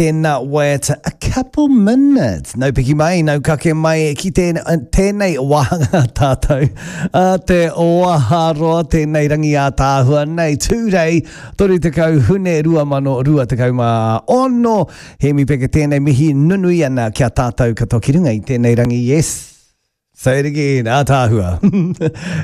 Tēnā waiata a couple minutes. Nau piki mai, nau kake mai ki tēnei wāhanga tātou. A te waharoa tēnei rangi ātaahua nei. Tūrei, 30 Hune 2026. Hēmi Peke tēnei mihi nunui ana ki a tātou katoa ki runga i tēnei rangi. Yes. Say it again, ātaahua.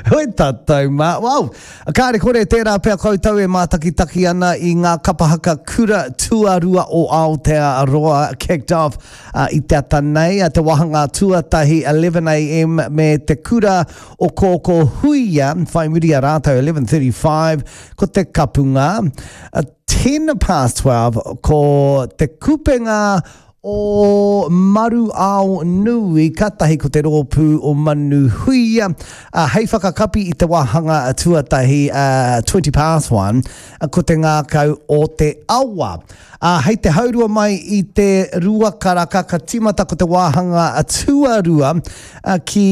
Hoi tātou mā. Wow! Kāre kore tērā pea koutou e mātakitaki ana i ngā kapa haka kura tuarua o Aotearoa kicked off uh, i te ata nei, te wāhanga tuatahi 11am me te kura o Kōkō Huia, whai muri a rātou 11.35 ko te kapunga, uh, 10 past 12 ko te kupenga o Maru Ao Nui, katahi ko te rōpū o Manu Huia, ā, hei whakakapi i te wāhanga tuatahi, ā, 20 past one, ko te ngākau o te awa. Ā, hei te haurua mai i te rua karaka ka tīmata ko te wāhanga tuarua ki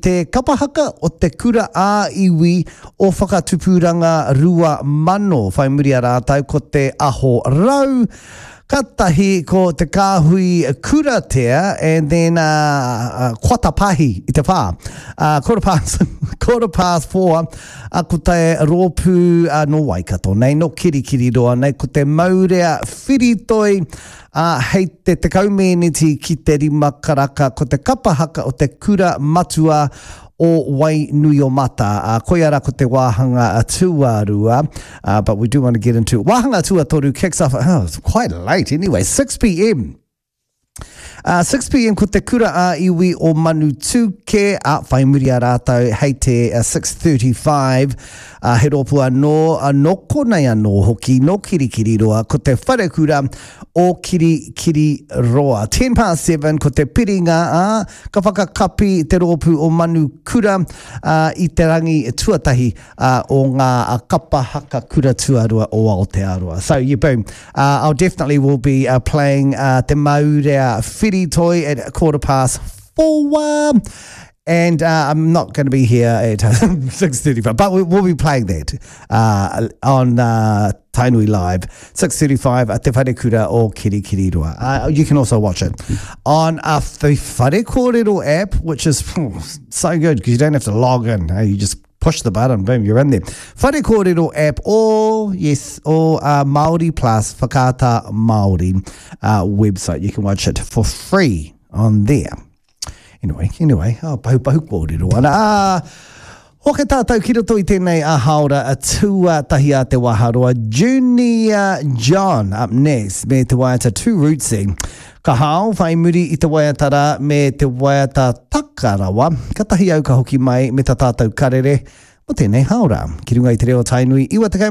te kapa haka o te kura ā-iwi o Whakatupuranga 2000, whai muri a rātou ko te Aho Rau, Katahi ko te kāhui kuratea and then uh, quarter pahi i te whā. Uh, quarter past, quarter past four, uh, ko te rōpū uh, no Waikato nei, no Kirikiriroa nei, ko te Maurea Whiritoi, uh, hei te tekau mēneti ki te rima karaka, ko te kapa haka o te kura matua o Wainuiomata. Uh, koia rā ko te wāhanga tuarua, uh, but we do want to get into wāhanga tuatoru kicks off, oh, it's quite late anyway, 6pm. Uh, 6pm ko te kura ā-iwi o Manutūkē, a whai muri a rātou hei te uh, 6.35, uh, he rōpū anō, uh, nō konei anō hoki, nō Kirikiriroa, ko te wharekura o Kirikiriroa. 10 past 7 ko te piringa, ā, Ka whakakapi te rōpū o Manu Kura i te rangi tuatahi o ngā kapa haka kura tuarua o Aotearoa. So yeah, boom. Uh, I'll definitely will be uh, playing uh, Te Maurea Whiritoi at quarter past four. And uh, I'm not going to be here at 6.35, but we, we'll be playing that uh, on uh, Tainui Live, 6.35 at Te Wharekura o Kirikiriroa. Uh, you can also watch it on uh, the Whare Kōrero app, which is oh, so good because you don't have to log in. Eh? You just push the button, boom, you're in there. Whare Kōrero app or, yes, or uh, Māori Plus Whakaata Māori uh, website. You can watch it for free on there. Anyway, anyway, oh, pahu pahu kōrero ana. Ah, hoke tātou ki roto i tēnei a haora a tuatahi a te waharoa. Junior John up next me te waiata Too Rootsy. Ka hao whai muri i te waiata rā me te waiata takarawa. Katahi au ka hoki mai me ta tātou karere mo tēnei haora. Ki runga i te reo Tainui 90.